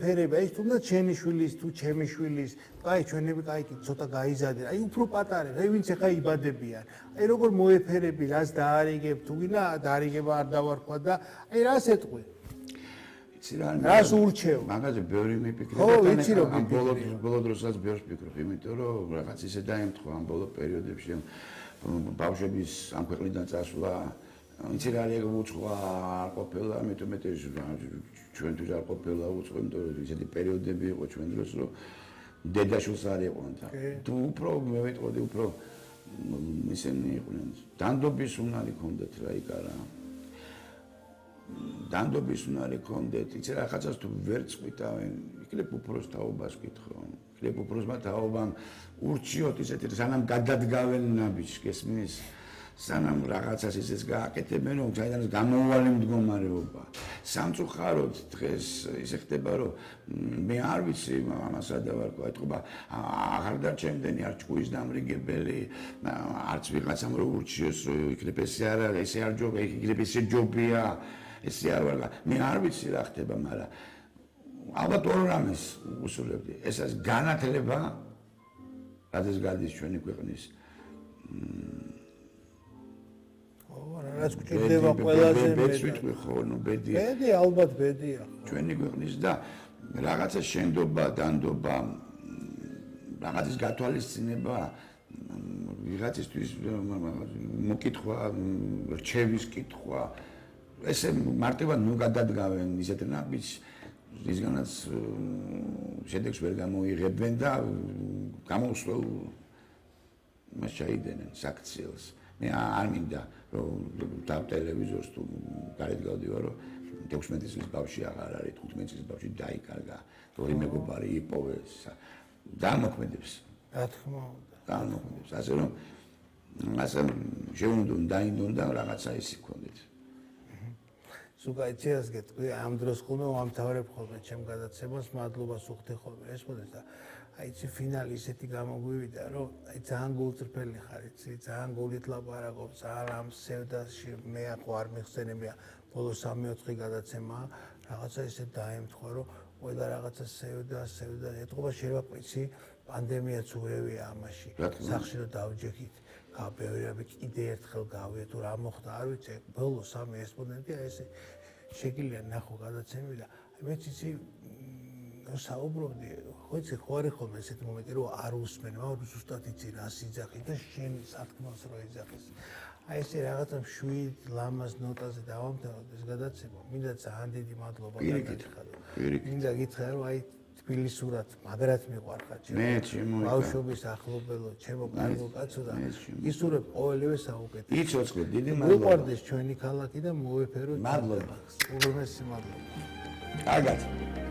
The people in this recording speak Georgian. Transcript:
ფერები, აი თუნდაც შენი შვილის თუ ჩემი შვილის, აი ჩვენები კაი ცოტა გაიზარდნენ. აი უფრო პატარებს, აი ვინც ახლა იბადებიან. აი როგორ მოეფერები, რას დაარიგებ, თუ გინდა დაარიგება არ დავარქვა და აი რას ეტყვი? იცი რა, რას ურჩევ? მაგაზე ბევრი მიფიქრე ხო, ვიცი რომ ამ ბოლო დროსაც ბევრს ვფიქრობ, იმიტომ რომ რაღაც ისე დაემთხვა ამ ბოლო პერიოდებში ბავშვების ამ ქვეყნიდან წასვლა იცი რა არის უცხოა არ ყოფილა, მეტ ჩვენთვის არ ყოფილა უცხო, იმიტომ რომ ისეთი პერიოდები იყო ჩვენ დროს, რომ დედაშვილს არ იყვნენ და თუ უფრო მე ვიტყოდი, უფრო ისინი იყვნენ. დანდობის უნარი ჰქონდათ რა იქ არა. დანდობის უნარი ჰქონდეთ, იცი რა ხაცას თუ ვერ წვითავენ, იქნებ უფროს თაობას ვკითხო. იქნებ უფროსმა თაობამ ურჩიოთ ისეთი სანამ გადადგავენ ნაბიჯს, გესმის? სანამ რაღაცას ისეც გააკეთებენ, რომ საიდანაც გამოუვალი მდგომარეობა. სამწუხაროდ დღეს ისე ხდება, რომ მე არ ვიცი ამას რა დავარქვა, ეთქობა აღარ დარჩენდენი არ ჭკუის დამრიგებელი, არც ვიღაცამ რო ურჩიოს, იქნებ ესე არ არის, ესე არ ჯობია, იქნებ ესე ჯობია, ესე არ ვარ. მე არ ვიცი რა ხდება, მაგრამ ალბათ ორ რამეს უსურვებდი. ეს არის განათლება, რადგან გადის ჩვენი ქვეყნის რაც გვჭირდება ყველაზე მეტი ხო, ნუ ბედია. ბედი ალბათ ბედია. ჩვენი ქვეყნის და რაღაცა შენდობა, დანდობა, რაღაცის გათვალისწინება, ვიღაცისთვის მოკითხვა, რჩევის კითხვა, ესე მარტივად ნუ გადადგავენ ისეთ ნაბიჯს, რისგანაც შედეგს ვერ გამოიღებენ და გამოუსველ მას ჩაიდენენ საქციელს. მე არ მინდა რომ და ტელევიზორს თუ გარეთ გავდივარ რომ 16 წლის ბავშვი აღარ არის 15 წლის ბავშვი დაიკარგა ორი მეგობარი იპოვეს დამოქმედებს რა თქმა უნდა დამოქმედებს ასე რომ შეუნდონ დაინდონ და რაღაცა ისი გქონდეთ სულ გეტყვი ამ დროს ხოლმე ვამთავრებ ხოლმე ჩემ გადაცემას მადლობას უხდი ხოლმე ეს მოდის და აი ცი ფინალი ისეთი გამოგვივიდა რომ აი ძალიან გულწრფელი ხარ იცი ძალიან გულით ლაპარაკობ ძალიან ამ სევდაში მე ახო არ მიხსენებია ბოლო 3-4 გადაცემა რაღაცა ისე დაემთხვა რომ ყველა რაღაცა სევდა ეთქობა შეიძლება იცი პანდემიაც უევია ამაში სახში რომ დავჯექით გაბევრიები კიდე ერთხელ გავია თუ რა მოხდა არ ვიცი ბოლო 3 ესპონდენტი აი ესე შეგიძლია ნახო გადაცემები და აი მეც იცი საუბრობდი, ხო იცი ხო არის ხოლმე ესეთი მომენტი რომ არ უსმენ, მაგრამ ზუსტად იცი რას იძახი და შენ სათქმელს რო იძახის. აი ესე რაღაცა შვიდ ლამაზ ნოტაზე დავამთავროთ ეს გადაცემა. მინდა ძალიან დიდი მადლობა გითხრათ. მინდა გითხრათ რომ აი თბილისურად მაგრად მიყვარხარ ჩემო. ბავშვობის ახლობელო, ჩემო კარგო კაცო და ისურვებ ყოველივე საუკეთესო. იცოცხლე დიდი მადლობა. მიყვარდეს ჩვენი ქალაქი და მოვეფეროთ. მადლობა. უღრმესი მადლობა. კარგად.